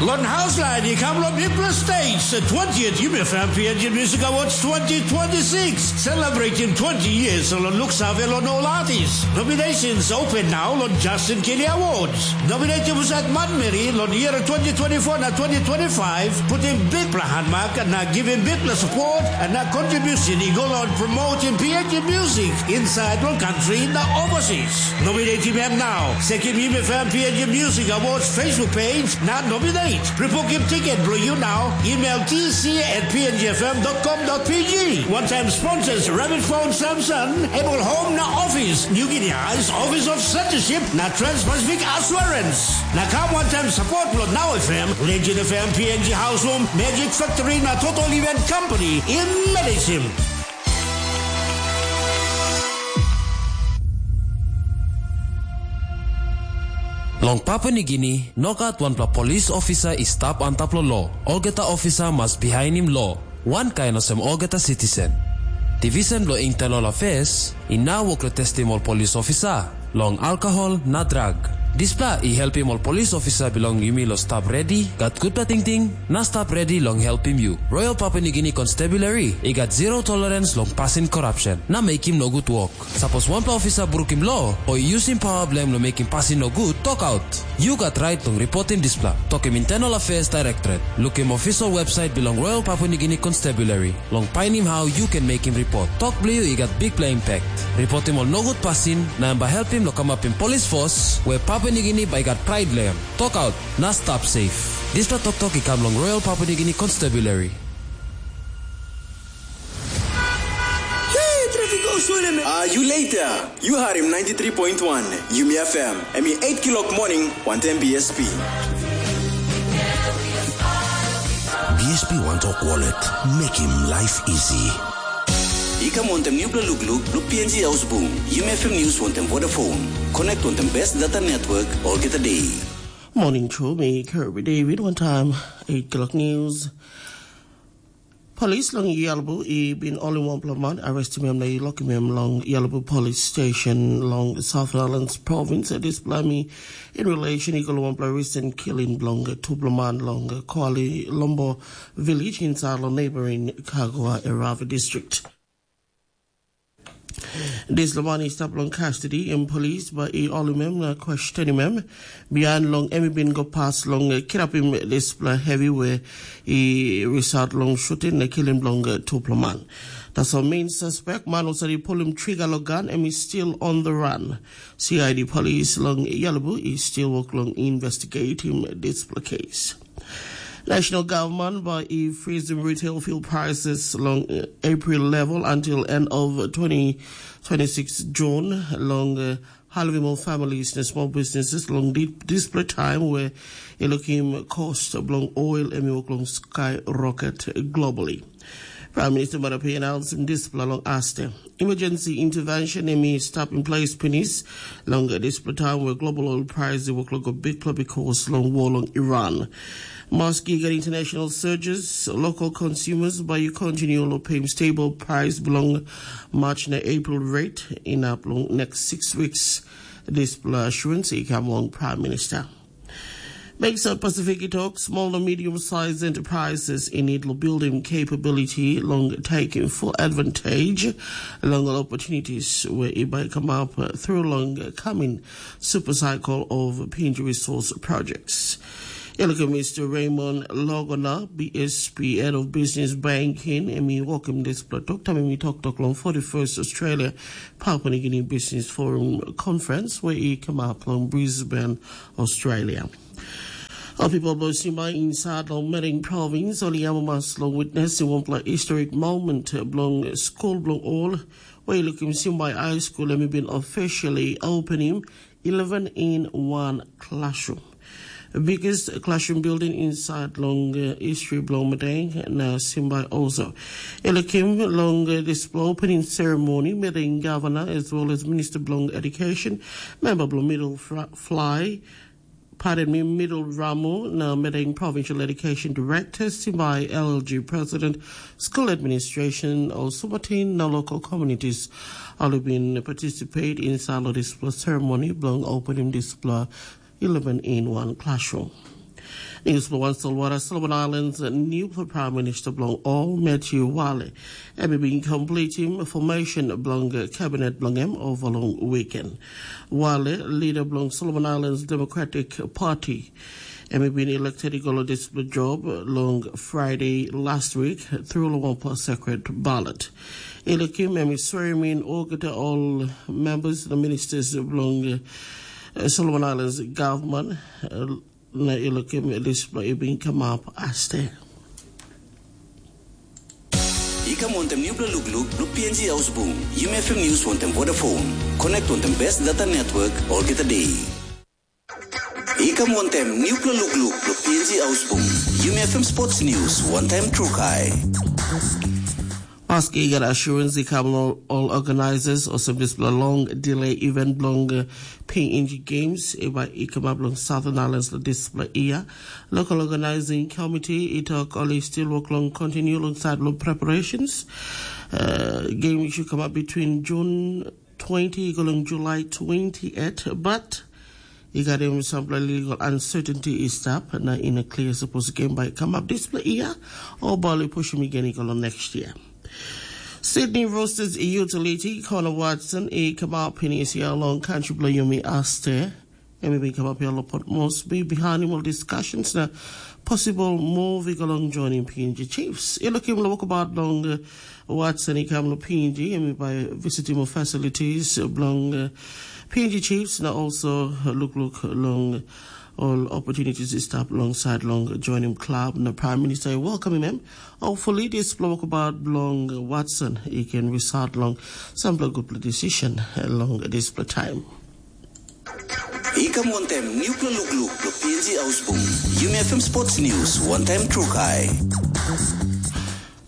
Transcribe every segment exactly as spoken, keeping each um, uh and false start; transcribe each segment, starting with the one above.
Lon Hauslain i kam long Mipla Stage, twentieth Yumi F M P N G Music Awards twenty twenty-six, celebrating twenty years long luksave long ol artist. Nominations open now long Justin Kelly Awards. Nominated was at Manmeri long year twenty twenty-four na twenty twenty-five, putting big plan mark na giving big plan support and na contribution i go long promoting P N G music inside long country na overseas. Nominate him now. Sekim him F M P N G Music Awards Facebook page na nominate. Pre-book him ticket bro you now. Email T C at P N G F M dot com dot P G. One time sponsors Rabbit Phone Samson, Able Home na Office, New Guinea Eyes, Office of Censorship na Trans-Pacific Assurance. Na kam one time support lo Now F M, Legend F M, P N G House Room, Magic Factory na Total Event Company. In medicine. Long Papua Nigini, nogat wanpela polis ofisa i stap antap long lo. Olgeta ofisa mas bihainim lo, wankain olsem olgeta sitisen. Divisen bilong Internal Affairs i nau wok long testim ol polis ofisa long alkohol na drag. Dispela i helpim ol polis ofisa bilong yumi long stap redi, gat gutpela tingting, na stap redi long helpim yu. Royal Papua Nigini Constabulary i gat zero tolerance long pasin korapsen na mekim nogut wok. Sapos wanpela ofisa brukim lo o i yusim pawa bilong em long mekim pasin nogut, tokaut. Yu gat rait long ripotim dispela. Tokim Internal Affairs Directorate. Lukim official website bilong Royal Papua Nigini Constabulary long painim hau yu ken mekim ripot. Tok bilong yu i gat bikpela impact. Ripotim ol nogut pasin na em bai helpim long kamapim polis fos we Papua Nigini bai gat prait long em. Tokaut na stap safe. Dispela toktok i kam long Royal Papua Nigini Constabulary. Hey, traffic go slow, man. Ah, you later. You heard him ninety-three point one, Yumi F M. Em i eight kilok morning, one ten B S P. B S P One Talk Wallet. Make him life easy. I kam wantem nupela lukluk, luk P N G Ausbung. Yumi F M News wantem Vodafone. Connect wantem best data network, olgeta day. Morning, True. Me, Kirby David, one time, eight o'clock news. Polis long Yalbu i bin holim wanpela man, arrestim em na i lokim em long Yalbu Polis Station long South Highlands Province. Dispela mi in relation i go long wanpela recent killing bilong tupela man long Kuali Lombo village inside long neighboring Kagua Erava district. Dispela man i stap long custody, em polis bai i holim em na questionim em. Bihain long em i bin go pas long eh, kirapim dispela hevi we i result long shooting na killing bilong eh, tupela man. Tasol main suspect, man olsem i pulim trigger long gun, em i still on the run. C I D polis long Yalabu i still work long investigating dispela case. National Government bai i freezim retail fuel prices long eh, April level until end of twenty twenty-six June long eh, halvim ol families na small businesses long di- display time where e lukim cost bilong oil em i wok long skyrocket globally. Prime Minister Marape announced dispela long aste. Emergency intervention em i stap in place pinis long dispela time where global oil price i wok long go big club because long war long Iran. Maski get international surges, local consumers by you continue to pay stable price belong March na April rate in up long next six weeks. Dispela assurance i kam long Prime Minister. Makes up Pacific talk small and medium sized enterprises in it building capability long taking full advantage long opportunities where it might come up through long coming super cycle of pinch resource projects. Elke Mister Raymond Logona, B S P, Head of Business Banking, em i wokim dispela tok taim em i toktok long forty-first Australia Papua New Guinea Business Forum Conference where i come up long Brisbane, Australia. Ol pipel bilong Simba insait long Mering Provins ol i amamas long witnesim wanpela historic moment bilong skul bilong ol, we i lukim Simba High School em i bin officially opening eleven in one classroom. Biggest classroom building inside long uh, history bilong Madang na Simba also. Elikim long uh, this opening ceremony, Madang Governor as well as Minister bilong Education, member bilong Middle Fly, pardon me, Middle Ramu na Madang Provincial Education Director, Simba L G President, School Administration, also Martin na local communities. All have been participate in this ceremony, belong opening this eleven in one classroom. News for One Solwara, Solomon Islands, new Prime Minister bilong ol Matthew Wale. Em i bin completim formation bilong kabinet bilong em over long weekend. Wale, leader bilong Solomon Islands Democratic Party, em i bin elected i go long dispela job long Friday last week through long one secret ballot. I lukim em i swearing in olgeta ol members, the ministers bilong uh, Solomon Islands government. Uh, na i lukim dispela i bin kamap aste. I kam wantem nupela lukluk bilong P N G Haus Bung, Yumi F M News wantem Vodafone. Connect wantem best data network olgeta day. I kam wantem nupela lukluk bilong P N G Haus Bung, Yumi F M Sports News, one time trukai. Maski i gat assurance i kam long ol organizers olsem dispela long delay event bilong uh, P N G Games i bai i kamap long Southern Islands long dispela year. Local Organizing Committee i tok ol i still work long continue long side long preparations. Uh, game should come up between June twenty i go long July twenty-eight, but i gat em sampela legal uncertainty i stap na i no clear suppose game bai come up dispela year o bai ol i pushim i gen i go long next year. Sydney Roosters utility Connor Watson i kamap pinis ya long country bilong yumi aste. Em i bin kamap ya long Port Moresby bihainim ol discussions na possible move i go long joining P N G Chiefs. I lukim long wokabaut long uh, Watson i kam long P N G, em i bai visitim ol facilities bilong uh, P N G Chiefs na also lukluk long all opportunities i stap alongside long joining club na Prime Minister i welcoming em. Hopefully dispela wokabaut bilong Watson i can result long sampela gutpela decision long dispela time. I kam wantem nupela lukluk bilong P N G Haus Bung, Yumi F M Sports News, one time trukai.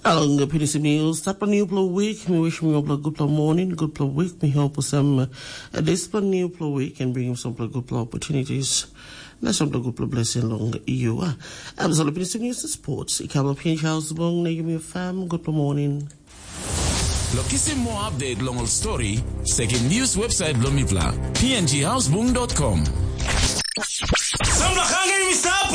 Along pinisim news, tapa nupela week, mi wish mi opela gutpela morning, gutpela week, mi hope some uh, dispela nupela week and bring some gutpela opportunities. Na some gutpela blessing long you. Uh. I'm Zolo Pinisim News Sports. I come up here in Charles Bong, na give me a fam, gutpela morning. Lo kisim more update long ol story, sekim news website bilong mipela, P N G houseboom dot com. Samla hangin mi sapu.